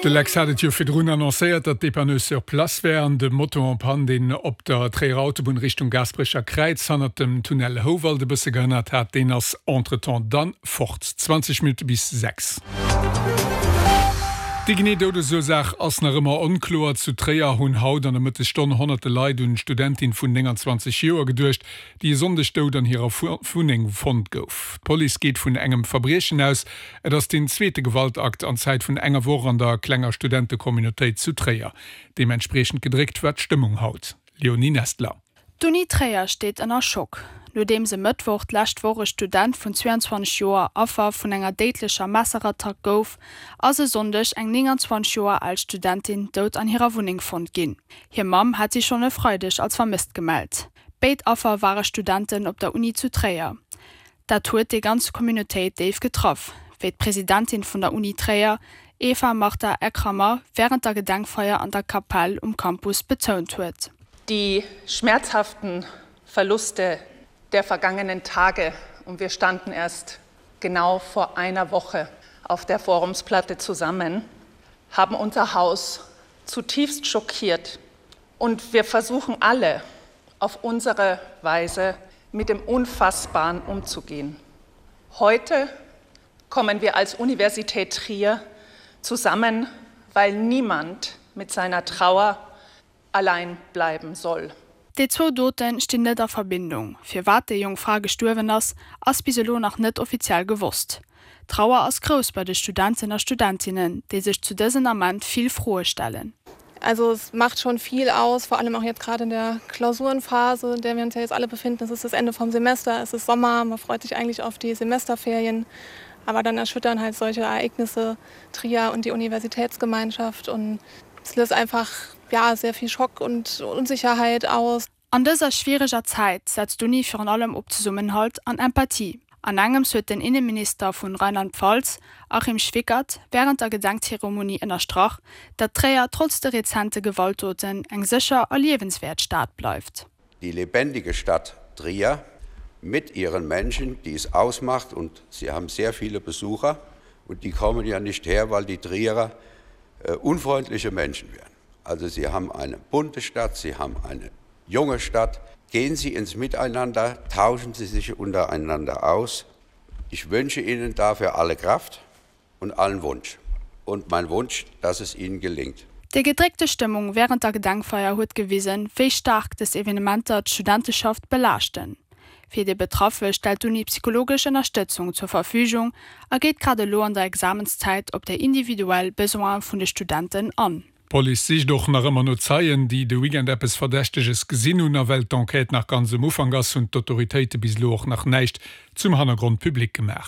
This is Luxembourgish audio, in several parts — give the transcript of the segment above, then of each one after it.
De Lex hat et jo virdrun annoncéiert, datt d'Dépanneuse sur place wär an de Moto en panne, deen op der Tréierer Autobunn Richtung Gaasperecher Kräiz hannert dem Tunnel Houwald e bësse gehënnert hat, deen ass entretemps dann fort. 20 Minutte bis 6. Déi genee Doudesursaach ass nach ëmmer onkloer. Zu Tréier hunn haut an der Mëttesstonn honnerte Leit un d'Studentin vun 29 Joer geduecht, déi e Sonndeg dout an hirer Wunneng fonnt gouf. D'Police geet vun engem Verbriechen aus. Et ass deen zweete Gewaltakt an Zäit vun enger Woch an der klenger Studentecommunautéit zu Tréier. Deementspriechend gedréckt war d'Stëmmung haut. Léonie Nestler. D'Uni Tréier steet ënner Schock, nodeems e Mëttwoch d'lescht Woch e Student vun 22 Joer Affer vun enger déidlecher Messerattack gouf, ass e Sonndeg eng 29 Joer al Studentin dout an hirer Wunneng fonnt ginn. Hir Mamm hat si schonn e Freideg als vermësst gemellt. Béid Affer ware Studenten op der Uni zu Tréier. Dat huet déi ganz Communautéit déif getraff, wéi d'Presidentin vun der Uni Tréier, Eva Martha Eckrammer, wärend der Gedenkfeier an der Kapell um Campus betount huet. Die schmerzhaften Verluste der vergangenen Tage und wir standen erst genau vor einer Woche auf der Forumsplatte zusammen, haben unser Haus zutiefst schockiert und wir versuchen alle auf unsere Weise mit dem Unfassbaren umzugehen. Heute kommen wir als Universität Trier zusammen, weil niemand mit seiner Trauer allein bleiben soll. Déi zwou Dote stinn net a Verbindung. Firwat déi jonk Fra gestuerwen ass, ass bis elo nach net offiziell gewosst. D'Trauer ass grouss bei de Studenten a Studentinnen, déi sech zu dësen Ament vill Froe stellen. Also es macht schon viel aus, vor allem auch jetzt gerade in der Klausurenphase, in der wir uns ja jetzt alle befinden. Es ist das Ende vom Semester, es ist Sommer, man freut sich eigentlich auf die Semesterferien. Aber dann erschüttern halt solche Ereignisse Trier und die Universitätsgemeinschaft und es löst einfach ja, sehr viel Schock und Unsicherheit aus. An dëser schwiereger Zäit setzt d'Uni virun allem op Zesummenhalt an Empathie. An engems huet den Inneminister vun Rheinland-Pfalz, Achim Schwickert, wärend der Gedenkzeremonie ënnerstrach, datt Tréier trotz de rezente Gewaltdoten eng sécher a liewenswäert Stad bleift. Die lebendige Stadt Trier mit ihren Menschen, die es ausmacht und sie haben sehr viele Besucher und die kommen ja nicht her, weil die Trierer äh, unfreundliche Menschen wären. Also sie haben eine bunte Stadt, sie haben eine junge Stadt. Gehen Sie ins Miteinander, tauschen Sie sich untereinander aus. Ich wünsche Ihnen dafür alle Kraft und allen Wunsch. Und mein Wunsch, dass es Ihnen gelingt. Déi gedréckte Stëmmung wärend der Gedenkfeier huet gewisen, wéi staark dës Evenementer d'Studenteschaft belaaschten. Fir déi Betraffe stellt d'Uni psychologesch Ënnerstëtzung zur Verfügung a geet grad elo an der Examenszäit op déi individuell Besoine vun de Studenten an. D'Police sicht och nach ëmmer no Zeien, déi de Weekend eppes Verdächteges gesinn hunn. A well d'Enquête nach ganz um Ufank ass, hunn d'Autoritéite bis elo och nach näischt zum Hannergrond public gemaach.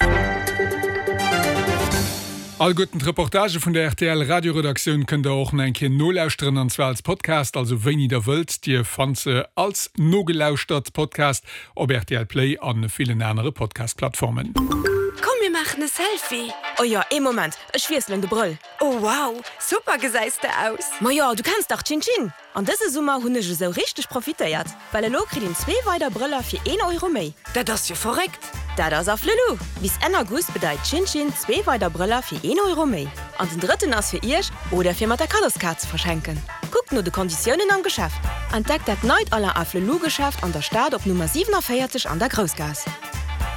Alleguerten d'Reportagë vun der rtl Radioredaktioun kënnt der och nach eng Kéier nolauschteren, an zwar als Podcast, also wéini der wëllt. Dir fannt se als nogelauschtert Podcast op rtl Play an villen anere Podcast-Plattformen. Komm mir maachen e Selfie! Oh jo, ee Moment, ech wiesselen de Brëll. Oh wow, super gesäis de aus! Majo, du kenns dach Chin Chin! An dëse Summer hunn ech esou richteg profitéiert, well elo kritt een zwee weider Brëller fir een Euro méi. Dat ass jo verréckt! Dat ass Afflelou! Bis Enn August bedeit Chin Chin zwee weider Brëller fir een Euro méi. An den drëtten ass fir iech oder fir mat der Kaddoskaart ze verschenken. Kuckt no de Konditiounen am Geschäft. Entdeckt dat neit Alain Afflelou Geschäft an der Stad op Nummer 47 an der Groussgaass.